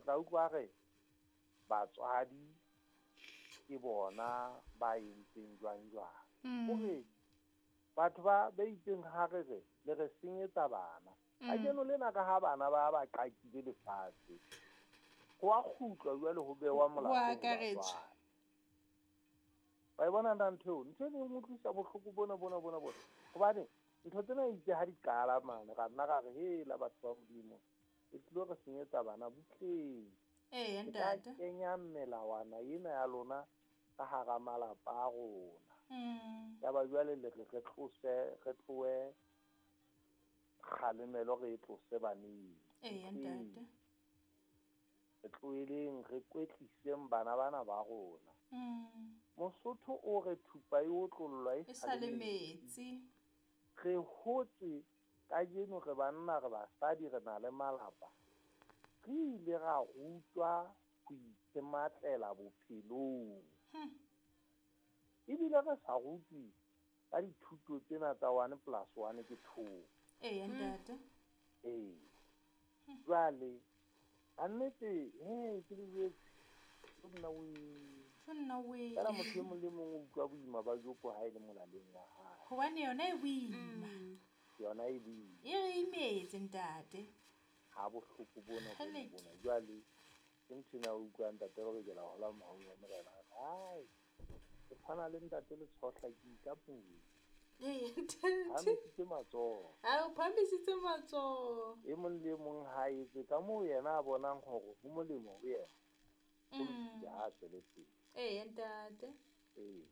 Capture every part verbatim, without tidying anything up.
tla utlwa re batswadi ke bona ba entseng jwang jwang. Hore batho ba ba itseng ha re re le re senyetsa bana. Kajeno lena ka ha bana ba ba qakile lefatshe. Ho a kgutlwa jwale ho bewa molato. Ho akaretswa. Ba e bona ntho eo, ntho e neng utlwisa bohloko bona bona bona bona. Hobane ntho tsena itse ha di qala mane ra nna ra re hela batho ba Modimo. E tlilo re senyetsa bana butleng. Eh ntate. Kenya melawana ena ya lona ka hara malapa a rona. Mm. Ya ba jwale le re re tlose re tloe kgalemelo re tlose baneng. Eh ntate. Re tloeleng re kwetliseng bana bana ba rona. Mm. Mosotho o re thupa e otlollwa e sa le metsi. Re hotse kajeno re banna re basadi re na le malapa. Re ile ra rutwa ho itematlela bophelong. Hmm. Ebile re sa rutwe ka dithuto tsena tsa one plus one ke two. Eh ntate. Eh. Jwale annete he ke le nna we. Nna we. Fela motho e mong le mong o utlwa boima ba joko ha e le molaleng wa hae. Hobane yona e boima. Yona e boima. E re imetse ntate. Ha bohloko bona bona bona. Jwale ke ntho ena o utlwa ntate re lokela ho hola mohau wa morena. Ai. Ke tshwana le ntate le tshohla ke ka pula. Eh ntate. Phahamisitse matsoho. Ha o phahamisitse matsoho. E mong le mong ha etse ka moo yena a bonang hore ho molemo ho yena. Mm. Ya tswele pele. Eh ntate. Eh.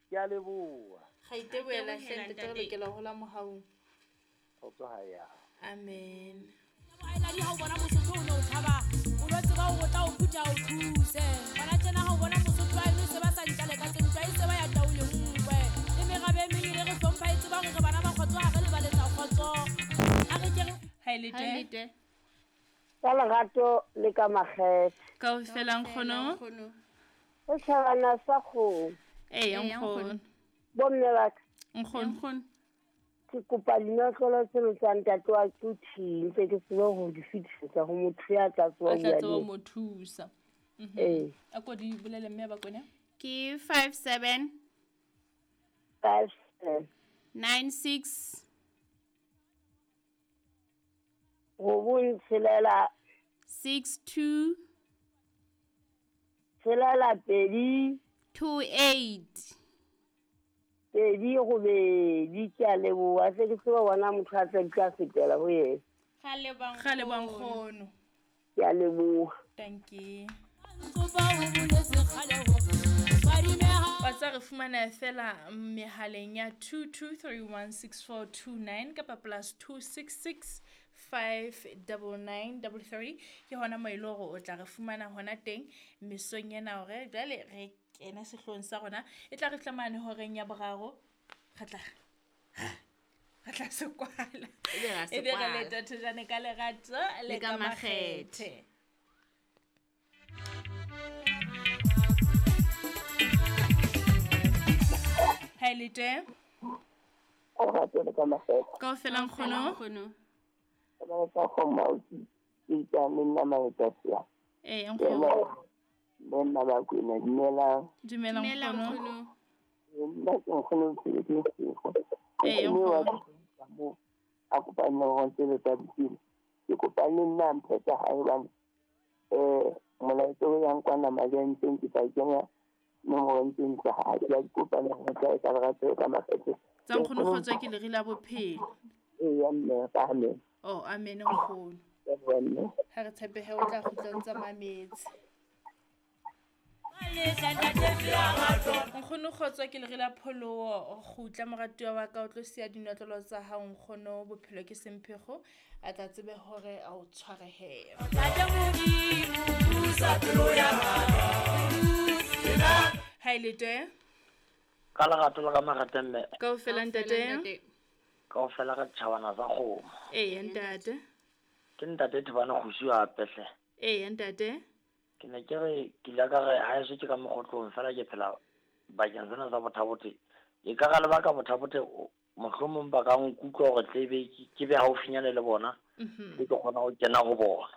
Ke a leboha. Ga iteboela hle ntate re lokela ho hola mohaung. Kgotso ha ya. Amen. Baeladi ha o bona Mosotho o no tshaba, o lo tseba hore o tla o phutha o thuse. Bana tjena ha o bona Mosotho a eno se ba sa ntlale ka tsentwa e se ba ya taole nkwe. Le merabe e meng e re hlompha e tseba hore re bana ba kgotso ha re lebaletsa kgotso. A re ke re Ha e le teng. Ka lerato le ka makgethe. Kaofela nkgono. O tjhabana sa kgomo. Eh nkgono. Bomme ba ka. Nkgono. Ke kopa dinotlolo tseno tsa ntate wa Quthing ntse ke tsebe ho di fetisetsa ho motho ya tla tswa A tla tswa mo thusa. Mhm. Eh. A ko di bolele mme ba kone. Ke five seven five seven nine six robong tshelela six two tshelela pedi two eight pedi robedi. Ke a leboha se ke tseba bona motho a tla tla fetela ho yena. Ga leboha nkgono. Ke a leboha. Thank you. Wa tsa re fumana fela mehaleng ya two two three one six four two nine kapa plus two six six five nine nine three three. Ke hona mo ile hore o tla re fumana hona teng mesong ena hore jwale re kena sehlong sa rona e tla re tlamane horeng ya boraro re tla re tla se kwala e be re le tathejane ka lerato le ka makgethe. Ha le teng? O rate le ka makgethe. Kaofela nkgono. Ba tsa kgoma o ke tsa nna maetsa. Eh nkgono. Nna ba kwena dumela. Dumela nkgono. Nna ke nkgono ke ke. Eh nkgono. A kopa nna ho tsebe tsa botshelo. Ke kopa le nna mphe tsa hae hobane eh molaetsa o yang kwana mabentleng ke tla kenya nomoro ntseng tsa hae. Ke kopa le ho tla ka lerato ka makgethe. Tsa nkgono kgotso ke lere la bophelo. Eh ya mme amen. Oh amen nkgono. Ha re tshepe he o tla kgutla ntsa mametse. Nkgono kgotso ke lere la pholoho kgutla moratuwa wa ka o tlo siya dinotlolo tsa hao nkgono bophelo ke semphego a tla tsebe hore a o tshwarehe. Ha ile teng? Ka lerato le ka makgethe mme. Kaofela ntate. Kaofela re tjhabana sa kgomo. Eh ntate. Ke ntate Thobane Kgosi wa Pehle. Eh ntate. Ke ne ke re ke ile ka re ha eso ke ka mokgotlong fela ke phela bakeng sena sa Bothabothe. E ka ga lebaka Bothabothe mohlomong ba ka nkutlwa hore tlebe ke be haufinyane le bona. Mhm. Ke kgona ho kena ho bona.